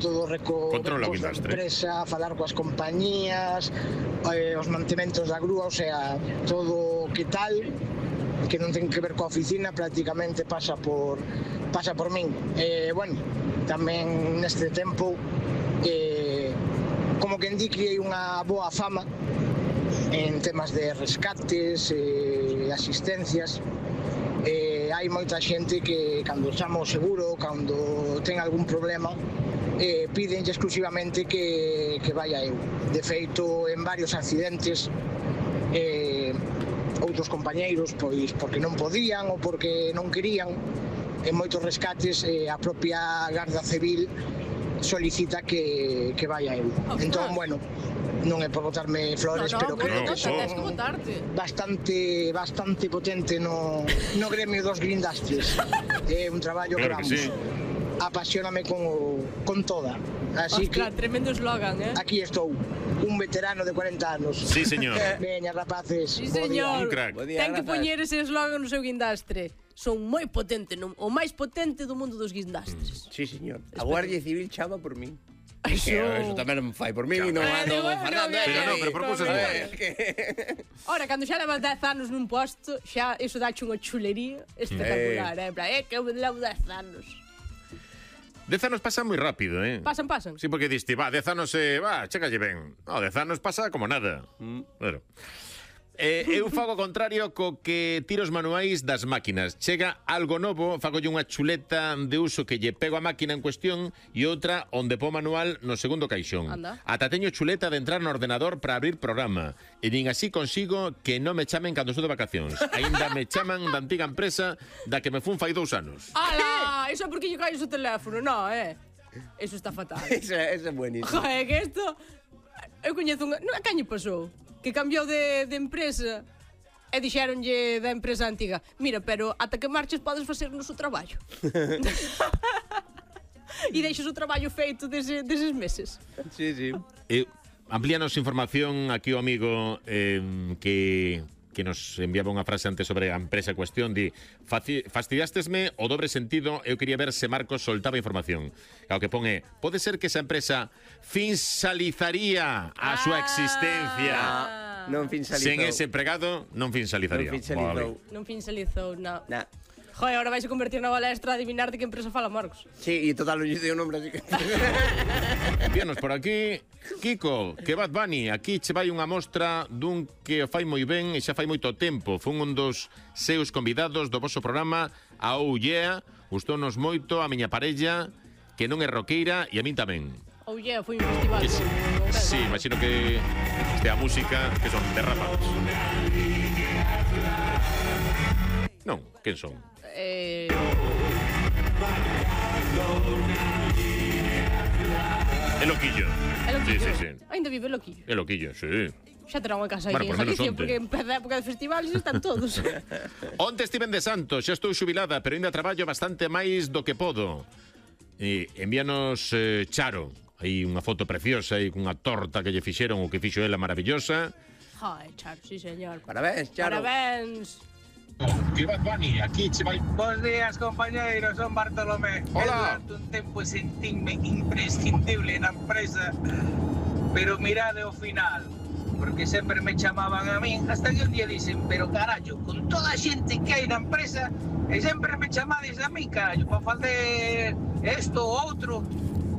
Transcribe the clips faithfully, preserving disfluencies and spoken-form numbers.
todo reco Controla o recos da guindastre. empresa, falar coas compañías, eh, os mantementos da grúa, o sea, todo que tal, que non ten que ver coa oficina, prácticamente pasa por pasa por min. Eh, bueno, tamén neste tempo, eh, como que indique unha boa fama en temas de rescates e eh, asistencias. Eh, hai moita xente que cando chama o seguro, cando ten algún problema, eh, pídenlle exclusivamente que, que vaya eu. De feito, en varios accidentes, eh, outros compañeiros, pois porque non podían ou porque non querían, en moitos rescates eh, a propia Garda Civil solicita que, que vaya eu. Entón, bueno, non é por botarme flores, no, no, pero creo no, que no, son tens que botarte. bastante bastante potente no, no gremio dos guindastres. É un traballo Claro que que vamos, sí. apasioname con, con toda. Así Ostras, que tremendo eslogan, eh? aquí estou, un veterano de cuarenta anos. Sí, señor. Veña, rapaces. Sí, bo día. señor. Un crack. Ten que poñer ese eslogan no seu guindastre. Son moi potente, non? O máis potente do mundo dos guindastres. Sí, señor. A Guardia Civil chama por min. Eso. Eso tamén non fai por mí, non Eh, ando bueno, Fernando. bien, Pero non, pero por cousas boas. Ora, cando xa levas dez anos nun posto, xa iso dache unha chulería espectacular, eh? En plan, eh, que eu levo dez anos. Dez anos pasa moi rápido, eh? Pasan, pasan. Sí, porque diste, va, dez anos, eh, va, chécalle ben. No, dez anos pasa como nada. Mm. Claro. Eh, eu fago o contrario co que tiros manuais das máquinas. Chega algo novo, fagolle unha chuleta de uso que lle pego a máquina en cuestión e outra onde po manual no segundo caixón. Anda. Ata teño chuleta de entrar no ordenador para abrir programa. E nin así consigo que non me chamen cando estou de vacacións. Aínda me chaman da antiga empresa da que me fun fai dous anos. Ala, iso é porque lle caes o teléfono, no, eh? Eso está fatal. Eso é buenísimo. Joder, que isto... Eu coñezo unha... Non, a caño pasou? Que cambiou de, de empresa e dixéronlle da empresa antiga: mira, pero ata que marches podes facer o noso traballo. E deixas o traballo feito dese, deses meses. Sí, sí. Eh, amplíanos información aquí o amigo eh, que... que nos enviaba unha frase antes sobre a empresa cuestión, di, fastidiástesme o dobre sentido, eu quería ver se Marcos soltaba información. E o que pon é, pode ser que esa empresa finsalizaría a ah, súa existencia. Ah, non finsalizou. Sen ese empregado, non finsalizaría. Non finsalizou. Vale. Non finsalizou, non. Nah. Joder, ahora vais a convertir na balestra a adivinar de que empresa fala Marcos. Sí, e total non lle dei o nombre, así que... Víanos por aquí, Kiko, que Bad Bunny, aquí che vai unha mostra dun que o fai moi ben e xa fai moito tempo. Fun un dos seus convidados do vosso programa, a Oh Yeah, gustounos moito a miña parella, que non é roqueira, e a min tamén. Oh yeah, foi un festival. Que sí, sí, imagino que este a música que son derrapados. Non, quen son? Eh... É Loquillo. É Loquillo. Sí, sí, sí. Ainda vive Loquillo. É Loquillo, sí. Xa terá unha casa Bueno, aquí por en menos Galicia, onte. porque empeza a época de festivales e están todos. Onte estiven de santo, xa estou xubilada, pero ainda traballo bastante máis do que podo. E envíanos eh, Charo, aí unha foto preciosa e cunha torta que lle fixeron o que fixo ela maravillosa. Ai, Charo, sí, señor. Parabéns, Charo. Parabéns. Que Bad Bunny, aquí che vai. Bos días, compañeiros, son Bartolomé. Hola. Eu durante un tempo sentínme imprescindible na empresa, pero mirade o final, porque sempre me chamaban a min, hasta que un día dicen, pero carallo, con toda a xente que hai na empresa, e sempre me chamades a mí, carallo, para facer isto ou outro.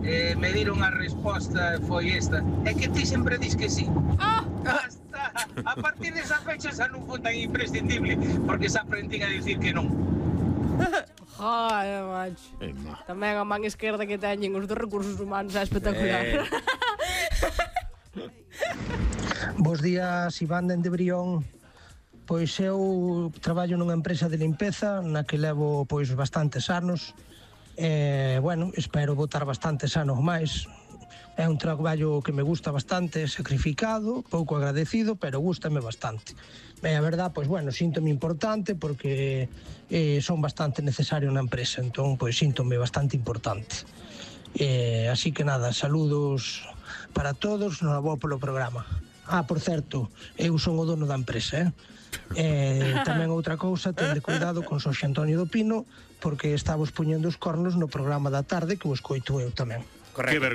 Eh, me diron a resposta, foi esta, é que ti sempre dis que sí. Ah! Hasta, a partir desa fecha xa non foi tan imprescindible, porque xa aprendín a dicir que non. Joder, macho. Eh, ma. Tamén a man esquerda que teñen os dos recursos humanos é espectacular. Eh. Bos días, Iván dende Brión. Pois eu traballo nunha empresa de limpeza na que levo pois bastantes anos. E, bueno, espero botar bastantes anos máis. É un traballo que me gusta bastante, sacrificado, pouco agradecido, pero gústame bastante. E a verdad, pois bueno, síntome importante porque eh, son bastante necesario na empresa, entón, pois síntome bastante importante. Eh, así que nada, saludos para todos, noraboa polo programa. Ah, por certo, eu son o dono da empresa, eh? Eh, tamén outra cousa, tende cuidado con Xosé Antonio do Pino, porque estamos poñendo os cornos no programa da tarde que o escoito eu tamén. Correcto.